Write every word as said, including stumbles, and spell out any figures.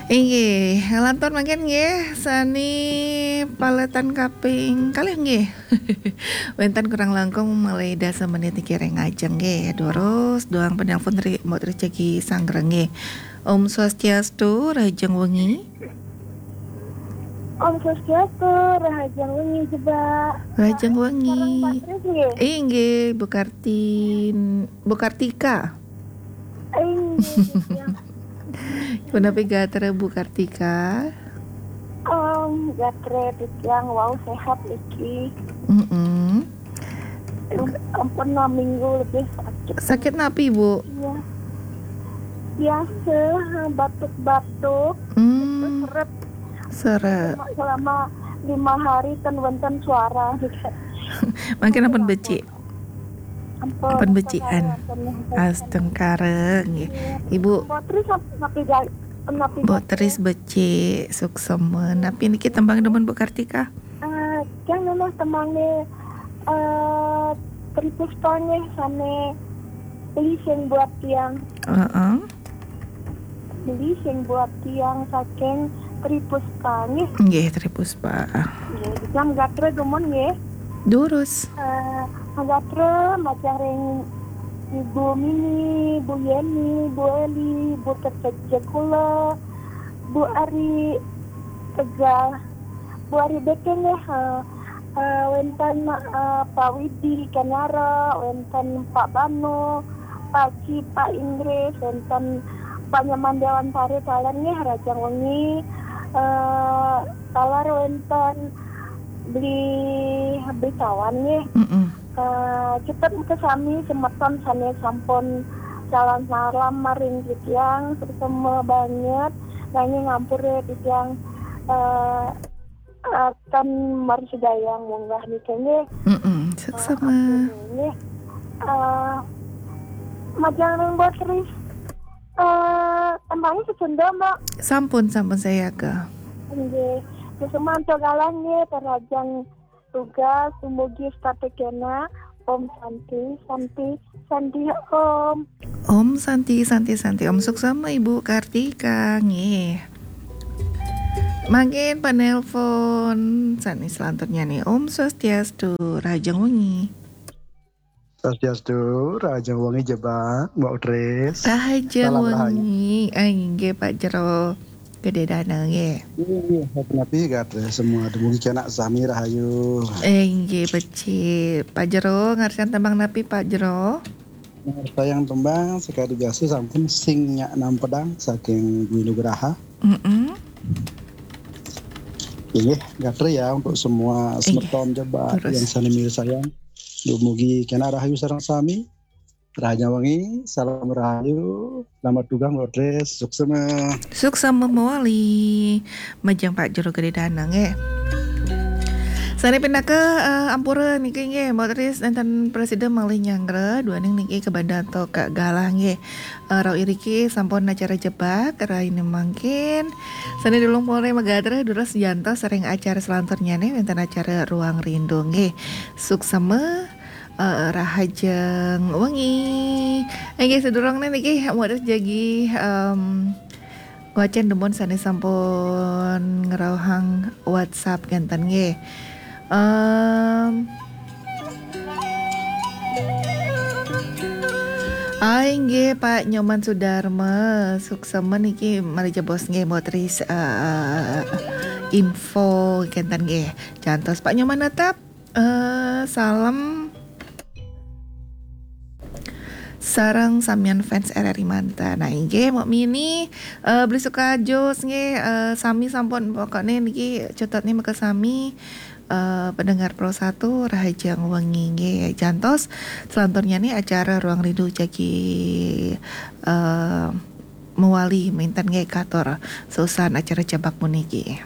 Inggih, lantur mangkin nggih, sani paletan kaping kalih nggih. Wénten kurang langkung malih dasa menit niki ring ajeng nggih. Durus, duang penelpon ri, Mbok Tris jagi sanggra nggih. Om Swastiastu, rahajeng wengi. Om Swastiastu, rahajeng wengi, Jebak. Rahajeng wengi. Sareng Mbak Tris nggih? Inggih, Bu Kartin, Bu Kartika. Inggih, ya. Punapi gatra, Bu Kartika? Om, gatra titiang wau sehat niki. Mm-mm. Ampun, enam minggu lebih sakit. Sakit napi, Bu? Iya. Biasa, batuk-batuk, hmm, seret. Seret. Cuma selama lima hari ten wonten suara. Mangkin ampun becik. Ampun, ampun becikan. Astungkara, nggih. Iya. Ibu. Mbok Tris napi, napi, napi Mbok Tris becik, suksma. Napi niki tembang demen Bu Kartika? Eh, yang memang tembangnya, eh, Tri Puspa nggih, sane Beli Sing Buat Tiang. Heeh. Beli Sing Buat Tiang saking Tri Puspa nggih. Nggih, Tri Puspa. Nggih, jam gatra dumun nggih. Durus. Eh, gatra majeng ring Ibu Mini, Bu Yeni, Bu Eli, Bu Tetep Jekula, Bu Ari Tegal, Bu Ari Beke nggih, eh, eh, wénten, eh, Pak Widi Kanyara, wénten Pak Bano, Pak Ci, Pak Inggris, wénten Pak Nyoman Dewan Sari, taler nggih, rahajeng wengi, eh, taler wénten Beli, Beli Tawan nggih. Mm-mm. Eh, cepet meka sami semeton sane sampun calon salam maring titiang, suksma banget, nanging ampura titiang, eh, akan marsidayang munggah nika nggih. Mm-mm, suksma. Eh, ampun nggih. Eh, majeng ring Mbok Tris. Eh, tembange sesenda, Mbok? Sampun, sampun sayaga. Nggih. Suksma antuk galah nggih, parajang tugas, dumugi setata kena. Om Santi, Santi, Santi Om. Om Santi, Santi, Santi Om. Suksma Ibu Kartika, nggih. Mangkin penelpon sane selanturnya nih. Om Swastiastu, rahajeng wengi. Swastiastu, rahajeng wengi Jebak, Mbok Tris. Rahajeng wengi. Ah, inggih Pak Jero. Gede Dana nggih. Inggih, napi gatra semua, dumugi kenak sami rahayu. Eh, inggih becik. Pak Jero, ngarsan tembang napi Pak Jero? Ngarsan tembang sekadi biasa sampun Sing Nyak Nampedang saking Dwi Nugraha. Mm-mm. Inggih, gatra ya untuk semua semeton Jebak yang sane mirsayang. Dumugi kenak rahayu sareng sami. Rahajeng wengi, salam rahayu, selamat dugang Mbok Tris, suksma. Suksma mawali, majeng Pak Jero Gede Dana nggih. Sane pinaka, eh, ampura niki nggih, Mbok Tris nenten prasida malih nyanggra, duaning niki kabanda antuk galah nggih. Eh, rauh iriki sampun acara Jebak, raine mangkin. Sane dulung pore magatra, durus jantos ring acara selanturnyane wenten acara Ruang Rindu nggih. Suksma, eh, rahajeng wengi. Nggih, sadurungne niki Mbok Tris jagi, em, ngwacen dumun sane sampun ngrauhang WhatsApp kenten nggih. Em, ah, inggih Pak Nyoman Sudarma, suksma niki malih jebos nggih Mbok Tris, eh, info kenten nggih. Jantos Pak Nyoman tetep Eh, salam sareng samian fans R R I Manta. Nah, inggih, Mbok Mini, eh, Beli Sukajos nggih, eh, sami sampun, pokokne niki cetotne meka sami, eh, pendengar Pro Satu, rahajeng wengi nggih. Jantos selanturnya nih acara Ruang Rindu jagi, eh, mawali minten nggih katur susan acara Jebak puniki.